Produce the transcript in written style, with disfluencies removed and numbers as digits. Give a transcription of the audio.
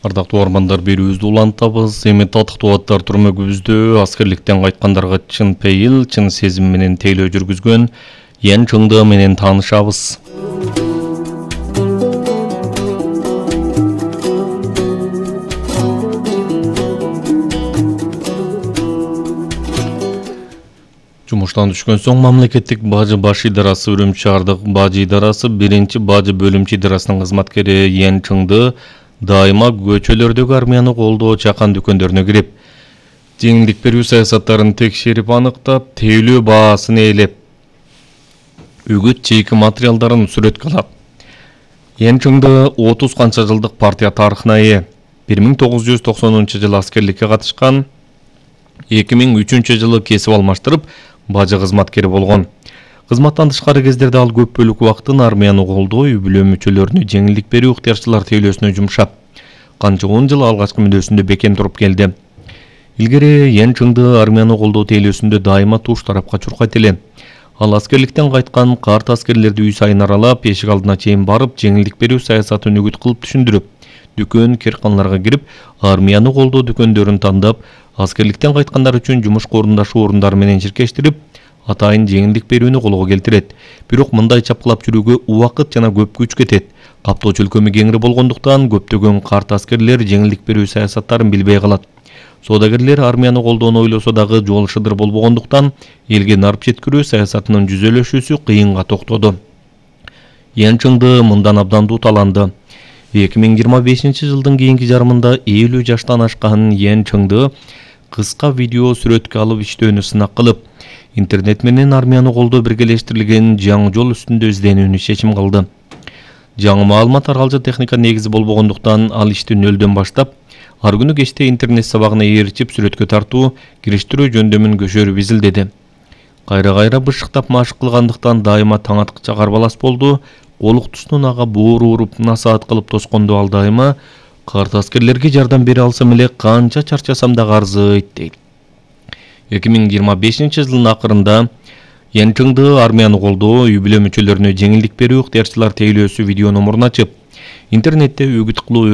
Ардактуу армандар, берүүбүздү улантабыз. Эми татыктуу аттар түрмөгүбүздө аскерликтен кайткандарга чын пейил, чын сезим менен тейлөө жүргүзгөн Ян Чыңды менен таанышабыз. Жумуштан түшкөн соң мамлекеттик бажы баш идарасы Үрүмчү шаардык бажы идарасы биринчи бажы бөлүмчө идарасынын кызматкери Ян Чыңды дайыма көчөлөрдөгү армияны колдоо чакан дүкөндөрүнө кирип, жеңилдик берүү саясаттарын текшерип аныктап, тейлөө баасын ээлеп, үгүт чейки материалдарын сүрөткө алат. Ян Чыңды 30 канча жылдык партия тарыхына ээ. 1990-жылы аскерликке катышкан, 2003 жылы кесип алмаштырып, бажы кызматкери болгон. Кызматтан тышкары кездерде ал көп бөлүк убактын армияны колдоо, үй-бүлө мүчөлөрүнө жеңилдик берүү ыктыярчылар тейлөөсүнө жумшап, канча 10 жыл алгачкы мүнөзүндө бекем туруп келди. Илгери Ян Чыңды армияны колдоо тейлөөсүндө дайыма туш тарапка чуркайт эле. Ал аскерликтен кайткан карт аскерлерди үй сайын аралап, эшик алдына чейин барып, жеңилдик берүү саясатын үгүт кылып түшүндүрүп, дүкөн, кирканаларга кирип, армияны колдоо дүкөндөрүн тандап, аскерликтен кайткандар үчүн жумушка орундашуу орундары менен ширкештирип, атайын жеңилдик берүүнү колго келтирет. Бирок мындай чапкылап жүрүүгө убакыт жана көп күч кетет. Каптоо чөлкөмү кеңири болгондуктан көптөгөн карт аскерлер жеңилдик берүү саясаттарын билбей калат. Соодагерлер армияны колдоону ойлосо дагы жол шыдыр болбогондуктан элге нарп жеткирүү саясатынын жүзөлөшүүсү кыйынга токтоду. Ян Чыңды мындан абдан дуталанды. 2025 жылдын кийинки жарымында 50 жаштан ашкан Ян Чыңды кыска видео сүрөткө алып иштөөнү сынак кылып, интернет менен армияны колдоо биргелештирилген жаңы жол үстүндө изденүүнү чечим кылды. Жаңы маалымат таргалчы техника негизи болбогондуктан ал ишти нөлдөн баштап, ар күнү кечте интернет сабагына ээрчип сүрөткө тартуу, кириштирүү жөндөмүн көшөрүп изилдеди. Кайра бышыктап машык кылгандыктан дайыма таң аткыча карбалас болду. Олуктусунун ага боору уруп насаат кылып тоскондо ал дайыма карт аскерлерге жардам бере алсам эле канча чарчасам да арзыйт дейт. 2025 жылдын акырында Ян Чыңды армияны колдоо, үй-бүлө мүчөлөрүнө жеңилдик берүү ыктыярчылар тейлөөсү видео номурун ачып, интернетте үгүт кылуу